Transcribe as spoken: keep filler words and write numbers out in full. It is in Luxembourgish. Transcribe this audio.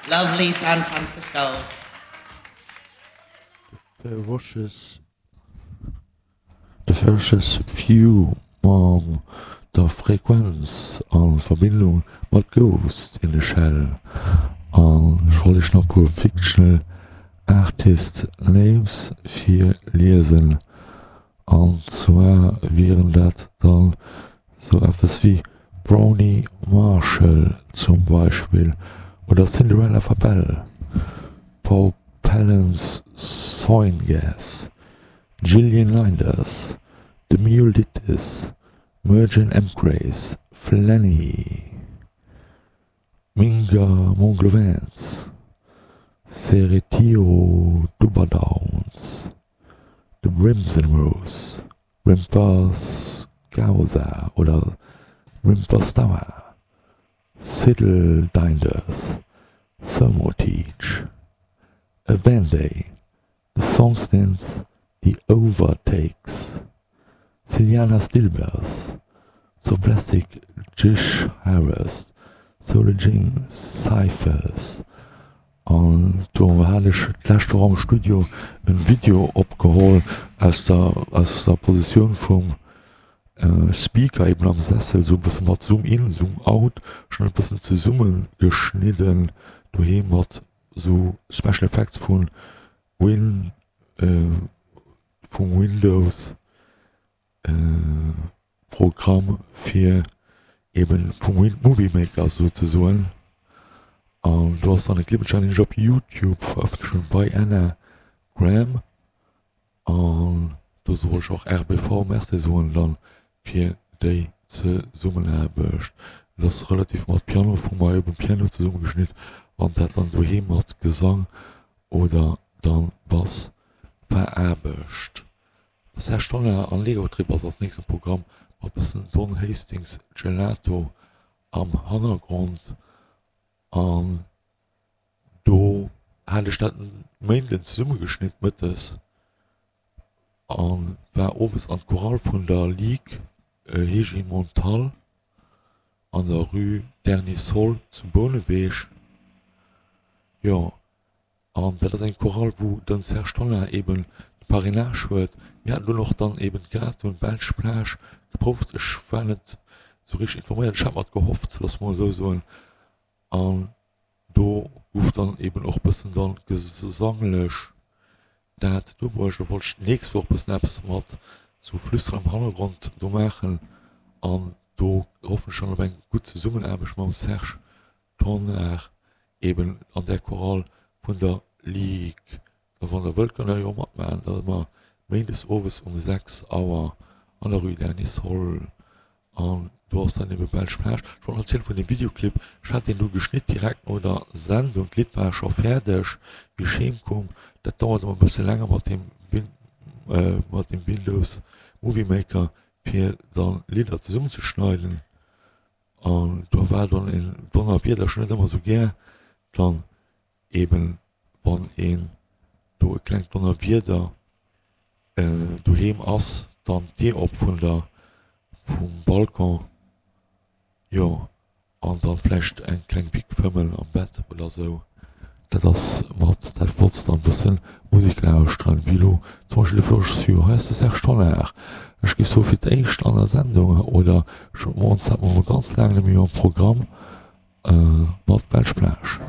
Lovely San Francisco. Ferocious The Ferocious Few mam der Frequenz a Verbindung mat Ghost in the Shell. An ech wollt iech nach e puer fictional artist names virliesen. An zwar wieren dat dann sou eppes wéi Brownie Marshall zum Beispill oder Cinderella Fabelle, Paul Pellens Soingas, Gillian Leinders, The Mule Did This, Mergen Emgrace, Flanny, Minga Monglovans, Seretio Dubadowns, The Brimson Rose, Rimpa Scausa oder Rimpa Stower, Siddle Dinders, Thermoteach, Avende, The Songstins, The Overtakes, Siliana Stilbers, Zoplastic Jish Harris, Solar Cyphers. An do hat ech d'lescht Woch am Studio en Video opgeholl aus der aus der Positioun vum Speaker eben am Sessel, sou e bësse mat Zoom in, Zoom out, schon e bëssen zesumme geschnidden doheem mat sou Special Effects vun Win vum Windows Programm fir eben vum Movie Maker souzesoen. An do ass dann e Clip entstanen, deen ech op Youtube verëffentlecht hunn bei Anna Graham. An do soll ech och R B V Merci soen dann fir déi Zesummenaarbecht. Et ass relativ mat Piano vu mer eben Piano zesummegeschnitt an dat dann doheem mat Gesang oder dann Bass veraarbecht. Serge Tonnar an Lego Trip ass als nächsten Programm mat bëssen Don Hastings Gelato am Hannergrond. An do hat ech dat en Méinden zesummegeschnitt mëttes an war owes an d'Chorale vun der Ligue Hegemontal an der Rue Dernier Sol zu Bouneweg. Jo, an dat ass eng Chorale, wou den Serge Tonnar eben de Parrainage huet. Mir haten dunn och dann eben grad un Belsch Plage geprouft. Ech war net sou richteg informéiert, ech hat mat gehofft, loosse mer esou soen. An do gouf dann eben och bëssen dann gesanglech dat dobruecht. Do wollt ech d'nächst Woch bëssen eppes mat sou Flüsteren am Hannergrond do maachen. An do hoffen ech dann op eng gutt Zesummenaarbecht mam Serge Tonnar eben an där Chorale vun der Ligue. A wann der wëllt, kënnt der jo matmaachen. Dat ass ëmmer méindes owes um sechs Auer an der Rue Derniers Sol. An do ass dann ebe Belsch Plage. Ech wollt nach erzielen vun dem Videoclip. Ech hat deen du geschnitt direkt no der Sendung. D'Lidd war scho fäerdeg, wéi ech heem koum. Dat dauert ëmmer e bësse länger mat dem Win mat dem Windows Movie Maker, fir dann Lidder zesummenzeschneiden. An do war dann en Donnerwieder, ech hunn net ëmmer esou gär dann eben wann een do e klengt Donnerwieder doheem ass, dann d'Dier op vun der vum Balcon, jo, an dann vläicht eng kleng Bic fëmmen am Bett oder sou. Dat ass mat dat flottst an bëssen Musek lauschteren, wéi elo zum Beispill de Flosch Sur. Hei ass de Serge Tonnar. Ech géif soe fir d'éischt an der Sendung oder scho moies hat mer mol ganz laang net méi am Programm mat Belsch Plage.